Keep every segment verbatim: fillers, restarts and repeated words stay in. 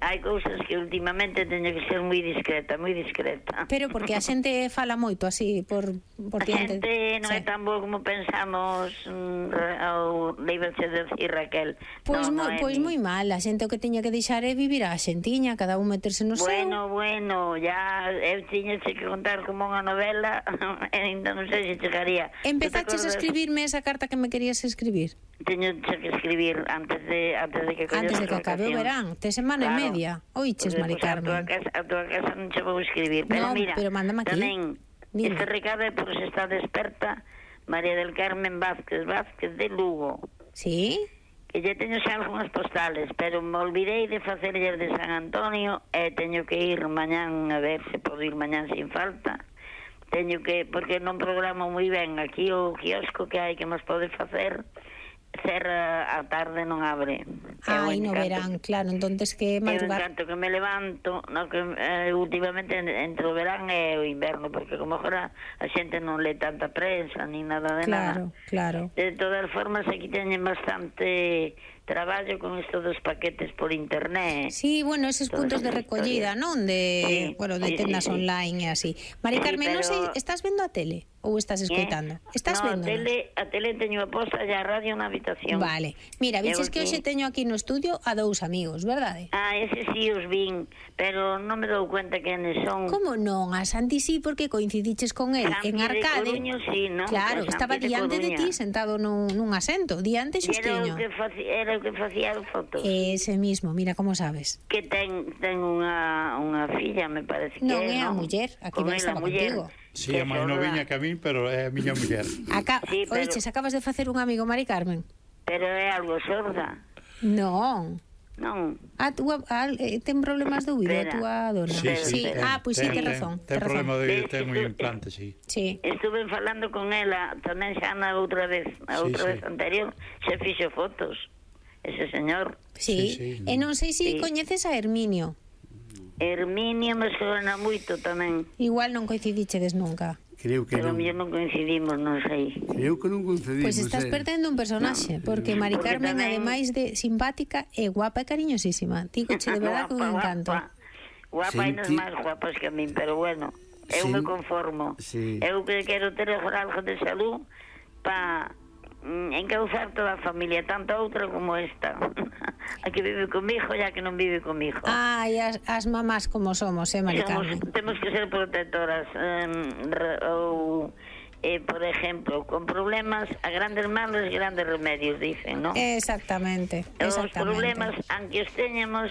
hai cousas que últimamente teño que ser moi discreta, moi discreta. Pero porque a xente fala moito así por, por a diante. xente non sí. é tan bo como pensamos, mm, ao leiberse de decir Raquel. Pois no, moi, no pois moi mal, a xente o que teña que deixar é vivir a xentiña, cada un meterse no bueno, seu. Bueno, bueno, ya eu tiña que contar como unha novela, ainda non sei se chegaría. Empezaches a escribirme esa carta que me querías escribir? Teño que escribir antes de antes de que antes de que acabe o verán, te semana claro, e media. Oiches, Mari Carmen. A tua casa, a tua casa non che vou escribir, pero no, mira, pero mándame aquí. Tamén, Dime. Este recado é por se está desperta María del Carmen Vázquez Vázquez de Lugo. Sí? Que lle teño xa algunhas postales, pero me olvidei de facerlle de San Antonio e teño que ir mañán a ver se podo ir mañán sin falta. Teño que, porque non programo moi ben aquí o quiosco que hai que nos pode facer. Cerra a tarde, non abre. Ai, no verán, claro, entonces que madrugar. Eu encanto que me levanto, no, que eh, últimamente entre o verán e o inverno, porque como agora a xente non lee tanta prensa, ni nada de claro, nada. Claro, claro. De todas formas, aquí teñen bastante traballo con isto dos paquetes por internet. Sí, bueno, eses puntos de recollida, non? De, sí, bueno, de sí, tendas sí, online e así. Mari sí, Carmen, pero... non sei, estás vendo a tele? Ou estás escoitando? Eh? Estás no, vendo? A tele, a tele teño a posta e a radio na habitación. Vale. Mira, viches que hoxe teño aquí no estudio a dous amigos, verdade? Ah, ese sí os vin, pero non me dou cuenta quenes son. Como non? A Santi sí, porque coincidiches con el Santi en Arcade. De Coruño, sí, ¿no? Claro, estaba de diante Coruña. de ti, sentado nun, nun asento, diante xustiño. Era o que facía, era o que facía as fotos. Ese mismo, mira como sabes. Que ten, ten unha, unha filla, me parece que non, é, é a non? muller, aquí vai estaba muller. contigo. Sí, a máis noviña que a min, pero é a miña muller. Acá, sí, pero... Oiches, acabas de facer un amigo, Mari Carmen. Pero é algo sorda. Non. Non. A túa, a, eh, ten problemas de ouvido a túa dona. Sí, sí. sí, ten, Ah, pois pues sí, ten, ten razón. Ten, ten problema de oído, ten un implante, sí. Sí. Estuve falando con ela tamén xa na outra vez, a outra sí, vez sí. anterior, xa fixo fotos. Ese señor. Sí, sí, sí. E non sei se si sí. coñeces a Herminio. Herminio me suena moito tamén. Igual non coincidichedes nunca. Creo que pero non. Pero non coincidimos, non sei. Creo que non coincidimos. Pois pues estás eh. perdendo un personaxe, no, porque Mari porque Carmen, tamén... ademais de simpática, é guapa e cariñosísima. Tigoche de verdad que un encanto. Guapa, guapa Senti... e non máis guapas que a min, pero bueno, eu sí. me conformo. Sí. Eu que quero ter algo de salud para encauzar toda a familia, tanto outra como esta. A que vive comigo e a que non vive comigo. Ai, as, as mamás como somos, eh, Mari Carmen? Temos que ser protectoras. Um, ou, eh, por exemplo, con problemas, a grandes males, grandes remedios, dicen, non? Exactamente, exactamente. Os problemas, aunque os teñamos,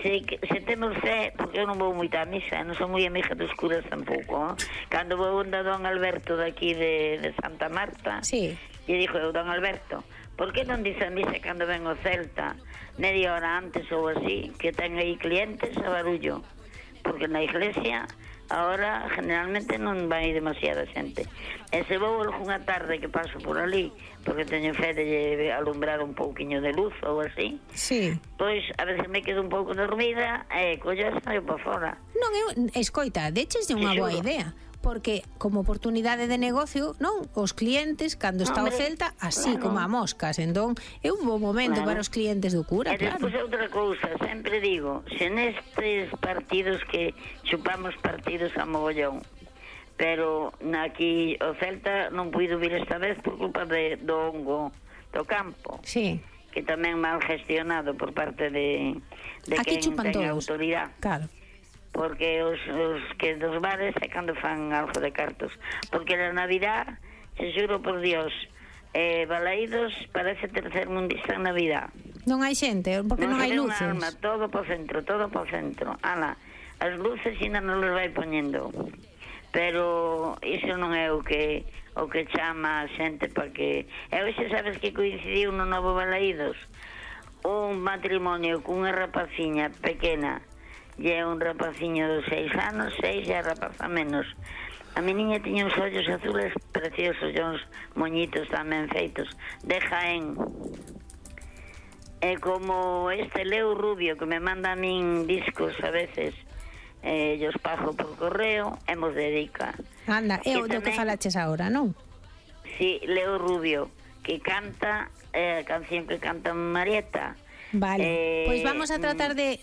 se, se temos fe, porque eu non vou moito á misa, non son moi amiga dos curas tampouco, eh? Cando vou onda Don Alberto daqui de, de Santa Marta, sí. E dixo eu, Don Alberto, por que non dice a misa cando ven o Celta media hora antes ou así, que ten aí clientes a barullo? Porque na iglesia ahora generalmente non vai demasiada xente. E se vou algunha tarde que paso por ali, porque teño fe de alumbrar un pouquiño de luz ou así, sí. Pois a veces me quedo un pouco dormida e collo e saio para fora. Non, eu, escoita, deches de unha boa idea, porque como oportunidade de negocio, non, os clientes cando está Hombre, o Celta así claro. como a moscas, entón é un bo momento claro. para os clientes do cura, e claro. E despois outra cousa, sempre digo, se nestes partidos que chupamos partidos a mogollón, pero aquí o Celta non puido vir esta vez por culpa de, do hongo do campo. Sí. Que tamén mal gestionado por parte de, de aquí quen ten todos. autoridade. Claro. Porque os, os que dos bares é cando fan algo de cartos, porque na Navidad, se xuro por Dios, eh, Balaídos parece tercer mundista en Navidad. Non hai xente, porque non, non hai luces. Alma, todo po centro, todo po centro. Ala, as luces ainda non les vai poñendo, pero iso non é o que o que chama a xente para que... E hoxe sabes que coincidiu no novo Balaídos un matrimonio cunha rapaciña pequena e un rapaciño de seis anos, seis e a rapaza menos. A mi niña tiña uns ollos azules preciosos e uns moñitos tamén feitos de Jaén. E como este Leo Rubio que me manda a min discos a veces, eh, os pago por correo e mos dedica. Anda, é o do que falaches agora, non? Sí, Leo Rubio, que canta eh, a canción que canta Marieta. Vale, eh, pois vamos a tratar de